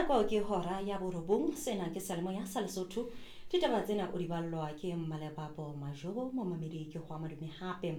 Nako ke hora ya 9, sena ke Seyalemoya sa Lesotho. Ditaba tsena o di ballwa ke Mmalebabo Majobo, momamedi ke ho madume hape.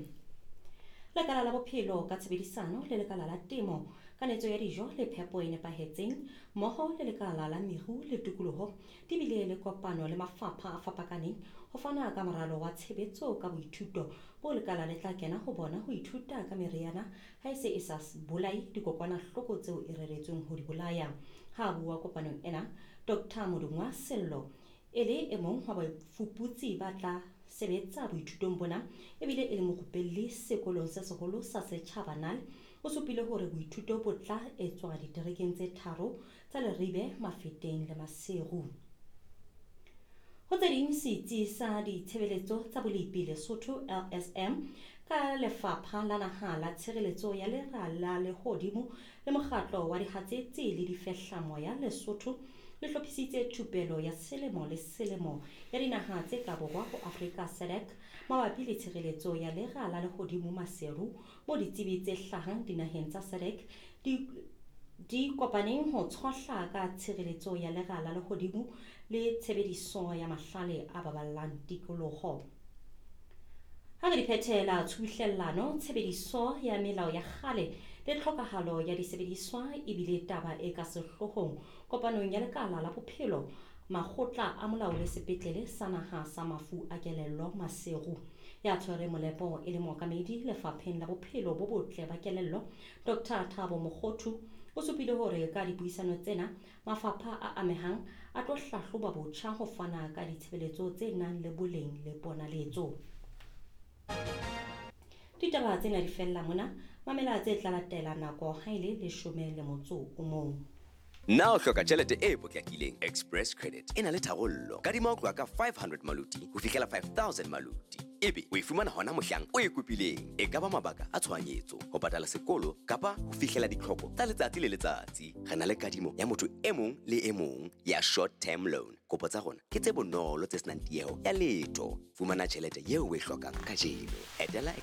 Lekala la bophelo ka tshebedisano le lekala la temo, kanetso ya dijo le phepo e nepahetseng, mmoho le lekala la meru le tikoloho di bile le kopano le mafapha a fapakaneng ho fana ka moralo wa tshebetso ka boithuto bo lekala le tla kena ho bona ho ithuta ka meriana ha e se e sa bolaye dikokwanahloko tseo e reretsweng ho di bolaya. Ha a bua kopanong ena, Dr. Modungwa Sello e le e mong wa bafuputsi ba tla sebetsa boithutong bona ebile e le morupelli sekolong se seholo sa setjhaba NAL, o supile hore boithuto bo tla etswa diterekeng tse tharo tsa Leribe, Mafeteng le Maseru. Ho tse ding, setsi sa ditshebeletso tsa bolepi Lesotho LSM ka Lefapha la Naha la Tshireletso ya Lera la Lehodimo le Mokgatlo wa Dihatsetsi le Difehlamoya Lesotho le hlophisitse thupelo ya selemo le selemo ya dinaha tse ka borwa ho Afrika SADC mabapi le tshireletso ya lera la lehodimo Maseru, moo ditsebi tse hlahang dinaheng tsa SADC di kopaneng ho tshohla ka tshireletso ya lera la lehodimo le tshebediso ya mahlale a baballang tikoloho. Ha re di phethela tshubuhlellano, tshebediso ya melao ya kgale le tlhokahalo ya disebediswa ebile taba e ka sehloohong kopanong ya lekala la bophelo, makgotla a molao le sepetlele sa naha sa mafu a kelello Maseru. Ya tshwere molepo e le mookamedi lefapheng la bophelo bo botle ba kelello, Dr. Thabo Mokgothu, o supile hore ka dipuisano tsena mafapha a amehang a tlo hlahloba botjha ho fana ka ditshebeletso tse nang le boleng le ponaletso. Ditaba tsena di fella mona, mamela tse tla latela nako ha e le 11. Na o hloka tjhelete e potlakileng? Express Credit e na le tharollo. Kadima ho tloha ka 500 maluti ho fihlela 5000 maluti. Ebe o e fumana hona mohlang o e kopileng. E ka ba mabaka a tshohanyetso, ho patala sekolo kapa ho fihlela ditlhoko tsa letsatsi le letsatsi. Re na le kadimo ya motho e mong le e mong ya short term loan. Kopo tsa rona ke tse bonolo tse senang tieho ya letho. Fumana tjhelete eo o e hlokang kajeno. Etela